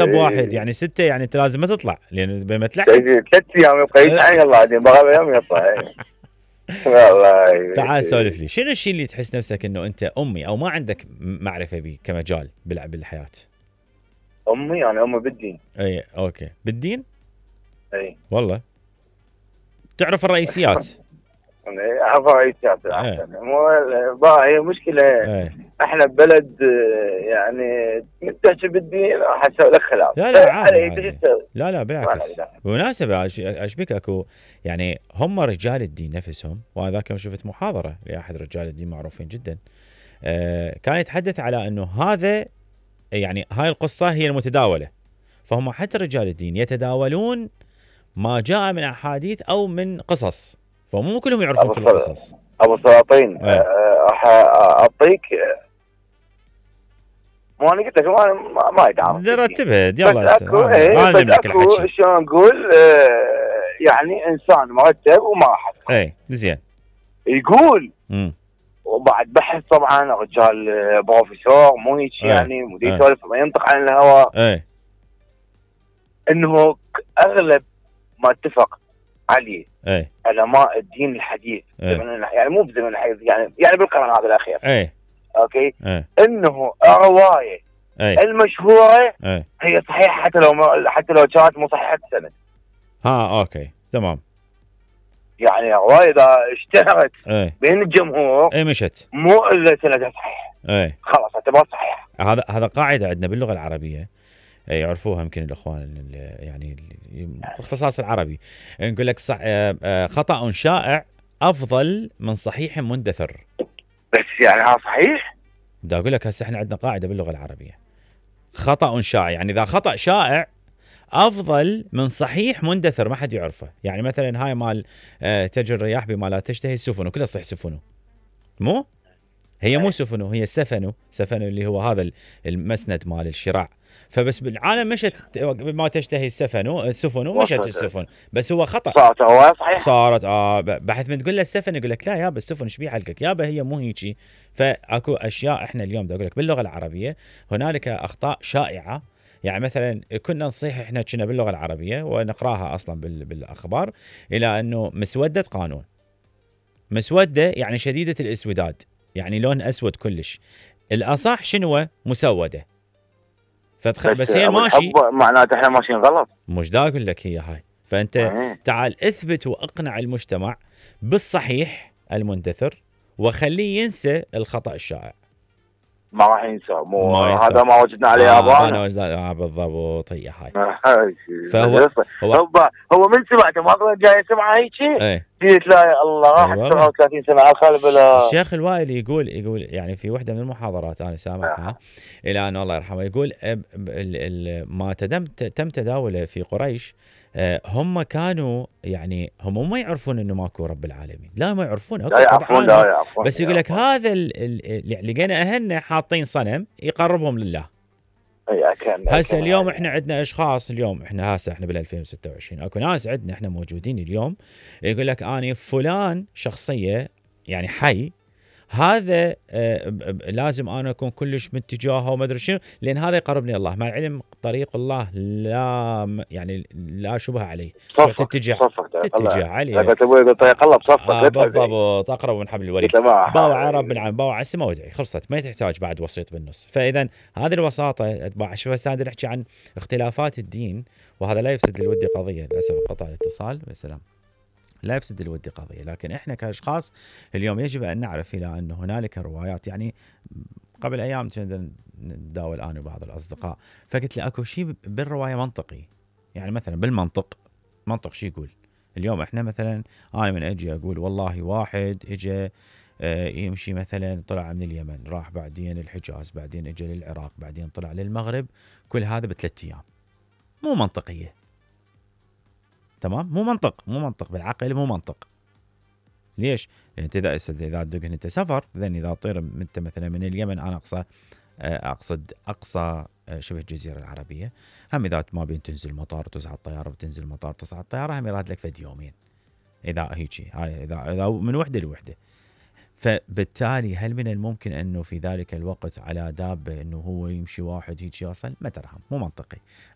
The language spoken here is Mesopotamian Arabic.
بواحد يعني 6 يعني انت لازم ما تطلع لان بما تلحق 3 ايام يبقى يتعين الله بعدين بغى يوم يطلع. والله تعال سولف لي شنو الشيء اللي تحس نفسك انه انت امي او ما عندك معرفه به كمجال بالحياه؟ امي يعني امي بالدين. اي اوكي بالدين. اي والله تعرف الرئيسيات. اعرف رئيسيات احسن. هي مشكله. احنا ببلد يعني تحكي بالدين راح اسوي لك خلاف. لا عادي. لا بالعكس. بالمناسبه اشبك اكو يعني هم رجال الدين نفسهم، وانا ذاك يوم شفت محاضره لاحد رجال الدين معروفين جدا، كان يتحدث على انه هذا يعني هاي القصه هي المتداوله، فهم حتى رجال الدين يتداولون ما جاء من احاديث او من قصص، فمو كلهم يعرفون كل القصص. ابو سلاطين راح اعطيك مو انا قلت لك ما يتعرف رتبها يلا. انا اكو شلون نقول يعني انسان مرتب وما راح اي زين يقول وبعد بحث طبعا رجال بروفيسور مو هيك يعني مدير يسولف ما ينطق عن الهواء انه اغلب ما اتفق عليه علماء الدين الحديث يعني مو بزمن الحديث يعني بالقرن هذا الاخير اوكي انه الروايه المشهوره هي صحيحه حتى لو كانت مو صحيحه السند. اوكي تمام. يعني الروايه اذا اشتهرت بين الجمهور مشت مو الا سندها صحيح خلاص اعتبر صحيح. هذا قاعده عندنا باللغه العربيه يعرفوها يمكن الاخوان يعني باختصاص العربي، نقول لك خطأ شائع افضل من صحيح مندثر. بس يعني ها صحيح؟ بدي اقول لك هسه احنا عندنا قاعده باللغه العربيه خطأ شائع، يعني اذا خطأ شائع افضل من صحيح مندثر ما حد يعرفه. يعني مثلا هاي مال تجري الرياح بما لا تشتهي السفن كلها صح سفنه، مو هي مو سفنه هي سفنه اللي هو هذا المسند مال الشراع. فبس بالعالم مشت ما تشتهي السفن ومشت السفن، بس هو خطأ. صارت هو صحيح صارت بحث من تقول له السفن يقول لك لا يابا السفن ايش بيه حلقك يابا هي مو هيجي. فاكو اشياء احنا اليوم بدي اقول لك باللغه العربيه هنالك اخطاء شائعه. يعني مثلا كنا نصيح احنا كنا باللغه العربيه ونقراها اصلا بالاخبار الى انه مسوده قانون. مسوده يعني شديده الاسوداد، يعني لون اسود كلش. الاصح شنو؟ مسوده. بس هي ماشي معناته احنا ماشيين غلط. مش دا اقول لك هي هاي. فانت تعال اثبت واقنع المجتمع بالصحيح المندثر وخليه ينسى الخطأ الشائع. ما راح ينسى هذا ما وجدنا عليه ابانا. بالضبط هي هاي. هو من سمعته ما جاي سمعه هيك قلت لا الله راحت 37 سنه على الخالب. الشيخ الوائل يقول يعني في وحده من المحاضرات انا سامعها الى ان الله يرحمه يقول ما تم تداوله في قريش هم كانوا يعني هم ما يعرفون انه ماكو رب العالمين، لا ما يعرفون لا بس يقول لك هذا اللي لقينا اهلنا حاطين صنم يقربهم لله. هسه اليوم احنا عندنا اشخاص اليوم احنا بال 2026 اكو ناس عندنا احنا موجودين اليوم يقول لك اني فلان شخصيه يعني حي هذا لازم انا اكون كلش متجاهه وما ادري شنو لان هذا يقربني الله. مع العلم طريق الله لا يعني لا شبه عليه. تتجه عليه. تقول طريق الله بصفك. بالضبط اقرب من حبل الوريد. باوع رب العالمين باوع السماء وادعي خلصت ما تحتاج بعد وسيط بالنص. فاذا هذه الوساطه شوف هسه نحكي عن اختلافات الدين وهذا لا يفسد للود قضيه. للاسف قطع الاتصال والسلام. لا يفسد الود قضية، لكن إحنا كأشخاص اليوم يجب أن نعرف إلى أن هنالك روايات. يعني قبل أيام كنا نداول أنا وبعض الأصدقاء فقلت لي أكو شيء بالرواية منطقي. يعني مثلا بالمنطق منطق شيء يقول اليوم إحنا مثلا أنا من أجي أقول والله واحد إجا يمشي مثلا طلع من اليمن راح بعدين الحجاز بعدين إجا للعراق بعدين طلع للمغرب كل هذا ب3 أيام. مو منطقية. تمام مو منطق بالعقل مو منطق. ليش؟ لأن إذا تدق أنت سفر إذا طير أنت مثلا من اليمن أنا أقصى شبه الجزيرة العربية هم إذا ما بين تنزل مطار وتصعد الطيارة وتنزل المطار تصعد الطيارة هم يراد لك فد يومين إذا هيجي هاي إذا من وحدة لوحدة. فبالتالي هل من الممكن أنه في ذلك الوقت على دابة أنه هو يمشي واحد هيك يصل؟ ما ترهم مو منطقي.